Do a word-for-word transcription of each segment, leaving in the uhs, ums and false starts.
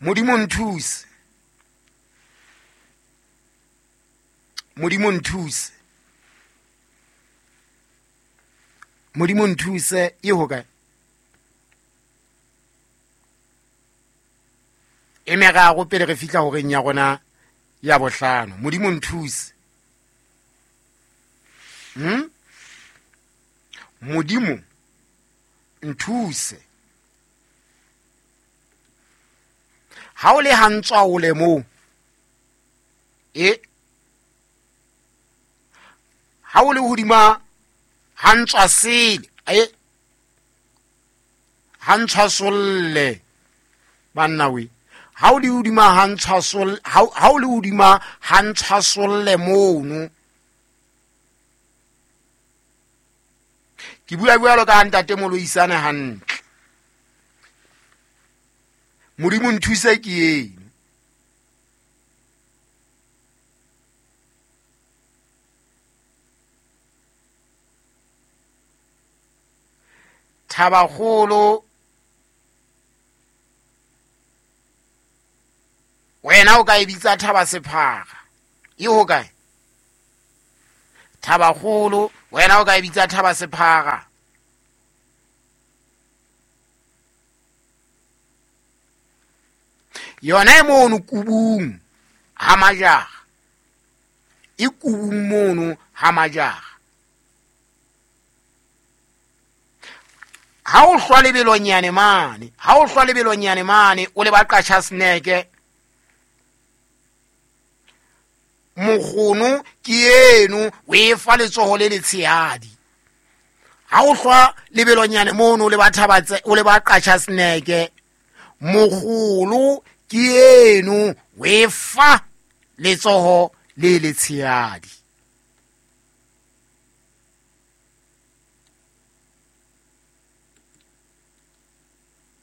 Modimo nthuse, Modimo nthuse, Modimo nthuse e hokae? E meraro pele re fihla horeng ya rona ya bohlano. Modimo nthuse. Hmm? Modimo nthuse. Ha o le hantswa o le moo. E ha o le hodima hantswa sele, e hantswa solle banna we. Ha o le hodima hantswa solle, ha o le hodima hantswa solle mono. Ke bua jwalo ka ntate Moloisane hantle. Modimo nthuse ke eno. Thabakgolo wena o ka e bitsa thaba sephara. E hokae? Thabakgolo wena o ka e bitsa thaba sephara. Yona e mono kubung ha majara. E kubung mono ha majara. Ha o hlwa lebelonyane mane, ha o hlwa lebelonyane mane o le ba qasha sneke. Mokgono ke eno o e fa letsoho le letshehadi. Ha o hlwa lebelonyane mono o le ba thabatse o le ba qasha sneke. Mokgolo ke eno o e fa letsoho le letshehadi.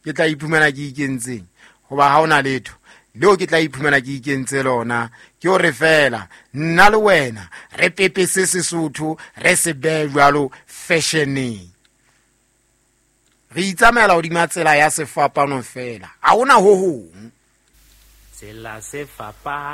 Ke tla iphumana ke ikentseng hoba ha ona letho leo ke tla iphumana ke ikentse lona. Ke hore fela nna le wena re pepese Sesotho re se behe jwalo fashioneng. Re itsamaela hodima tsela ya sefapano fela, ha hona ho hong. Tsela sefapano.